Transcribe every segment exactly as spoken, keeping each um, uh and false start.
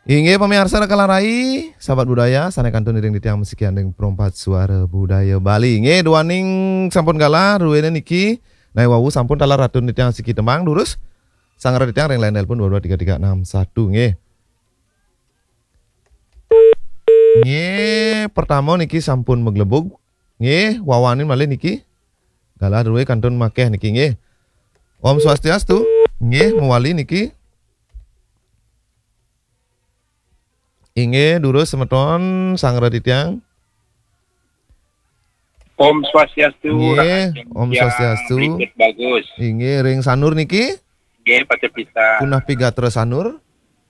Inggih pamiarsa Raka Larai, sahabat budaya, sané kantun iring titiang masikian ring Perempat Suara Budaya Bali. Inggih, duaning sampun galah, druéné niki, nah, wau sampun taler atun titiang siki tembang, durus. Sanggra titiang ring line telepon dua dua tiga tiga enam satu, nggih. Nggih, pertama niki sampun maglebug. Nggih, wawanin malih niki. Galah drué kantun makéh niki, nggih. Om Swastiastu. Nggih, mawali niki. Inggih, durus semeton sanggra titiang. Om Swastiastu, nggih, rahajeng Om siang, Swastiastu. Berikut bagus. Inggih, ring Sanur niki? Nggih, patut pisan. Punapi gatra Sanur?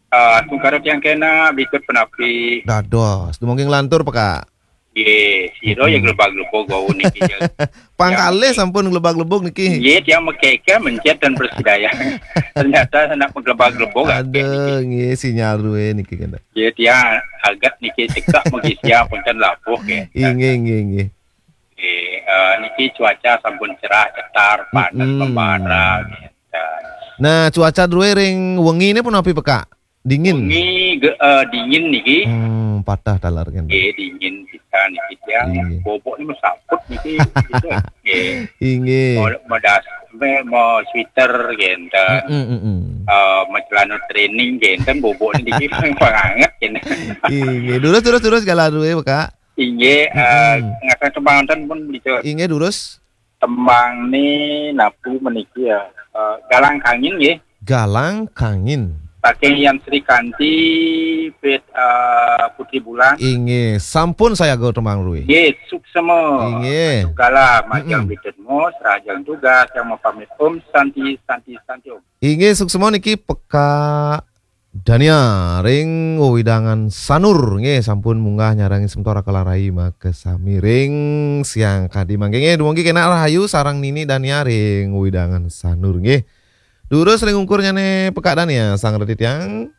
Ah, tungkara tiang kena, berikut punapi? Dados, dumogi nglantur, Pekak. Nggih, sira ya, hmm, glebag-glebug wau niki ya. Pangkalih sampun glebag-glebug niki. Nggih, tiang makaka mencet dan bersedaya. Ternyata nak maglebag-lebug akeh niki. Aduh, nggih, sinyal drué niki kena. Nggih, tiang aget niki cekak mugi siang pun kan labuh nggih. Inggih, inggih, inggih. Nggih, eh, niki cuaca sampun cerah, cetar, panas, mm-mm, membara nggih. Nah, cuaca drué ring wengi ni punapi, Pekak? Dingin. Wengi ge-, eh, dingin niki. Hmm, patah taler kan. Nggih, dingin pisan niki tiang. Inggih. Bobok ni masaput niki, gitu. Nggih. Inggih. Mau, mau das-, me-, mau sweater, gitu. Mm-mm, mm-mm. Eh, mau celana training, gitu. Bobok ni niki panganget, gitu. Inggih. Durus, durus, durus, galah drué, Kak. Inggih, eh, mm-mm, ngaturang tembang wonten pun, gitu. Inggih, durus. Tembang ni napi meniki ya? Eh, Galang Kangin nggih. Galang Kangin. Saking Yan Sri Kanti, Pit-, eh, Putri Bulan. Inggih, sampun sayaga tembang drué. Nggih, suksema. Inggih. Mantuk galah, majeng, mm-mm, bidetmu, serajang tugas yang mapamit Om Santi, Santi, Santi Om. Inggih, suksema niki Pekak Dania ring wewidangan Sanur, nggih, sampun munggah nyarengin semeton Raka Larai makasami ring siang kadi mangkin, nggih, dumugi kenak rahayu sareng Nini Dania ring wewidangan Sanur, nggih. Durus ring ungkurnyané Pekak Dania, sanggra titiang.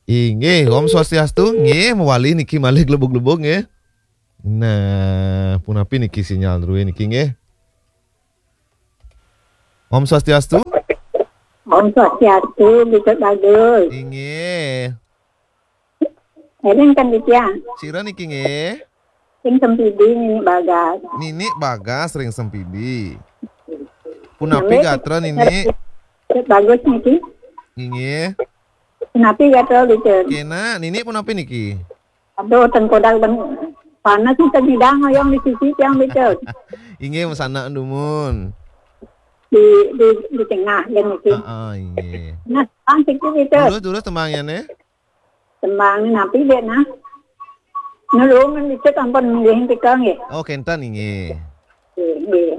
Inggih, Om Swastiastu, nggih, mawali niki malih glebug-glebug, nggih. Nah, punapi niki sinyal drué niki, nggih. Om Swastiastu. Om Swastiastu, Bikut Bagus. Inggih. Éling kan titiang. Sira niki nggih? Ring Sempidi, Nini Bagas. Nini Bagas ring Sempidi. Punapi nggih gatra, Nini? Bikut Bagus niki. Inggih. Punapi gatra, Bikut? Kenak, Nini punapi niki? Aduh, tengkorak ben-, panas nih, nyidang hoyong di sisi tiang, Bicul. Inggih, masanak dumun. Di, di, di tengah, ya, niki. Heeh, inggih. Nah, tembang siki, Bicul. Durus, durus tembangnya, nih. Tembang napi, Dek, nah? Nulungan, Bicul, ampun, nggih, tika, nggih. Oh, kenten, inggih. Nggih, nggih.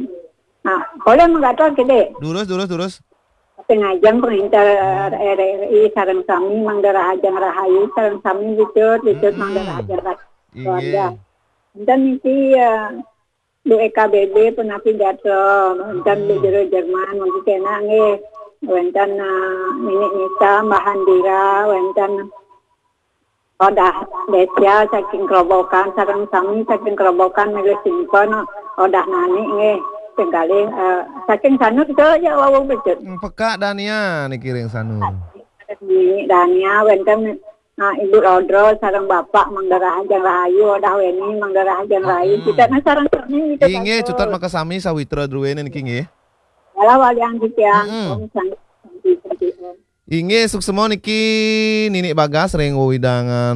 Nah, boleh menggator, Dek? Durus, durus, durus. Pangajeng panginter R R I sareng sami mangda rahajeng rahayu sareng sami Bicul, Bicul mangda rahajeng rahayu. Inggih. Wénten niki, eh, Bu E K B B punapi gatra, wénten Bu Jero Jerman, mangkin kenak nggih. Wénten, eh, Nini Nisa, Mbah Handira, wénten Odah Desya saking Kerobokan, sareng sami saking Kerobokan milih simpen, Odah Nani nggih. Sing kalih, eh, saking Sanur to ya wau Bicul. Hmm, Pekak Dania niki ring Sanur. Nini Dania wénten, ah, Ibu Rodro sareng Bapak mangda rahajeng rahayu, Odah Weni mangda rahajeng rahayu. Kita na sareng sami kita. Inggih, cutet makasami sawitra druéné niki nggih. Kala walian titiang. Mm-mm. Om Santi, Santi, Santi, Om. Inggih, suksma niki Nini Bagas ring wewidangan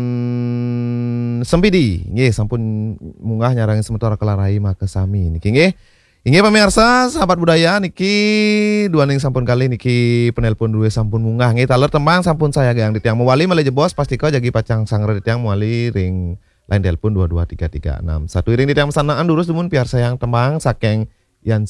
Sempidi. Inggih, sampun munggah nyarengin semeton Raka Larai makasami niki nggih. Inggih, pamiarsa, sahabat budaya niki, duaning sampun kalih niki penelpon drué sampun munggah. Nggih, taler tembang sampun sayagaang titiang mawali malih jebos, pastika jagi pacang sanggra titiang mawali ring line telepon dua dua tiga tiga enam satu. Iring titiang masanaan durus dumun piarsayang tembang saking Yan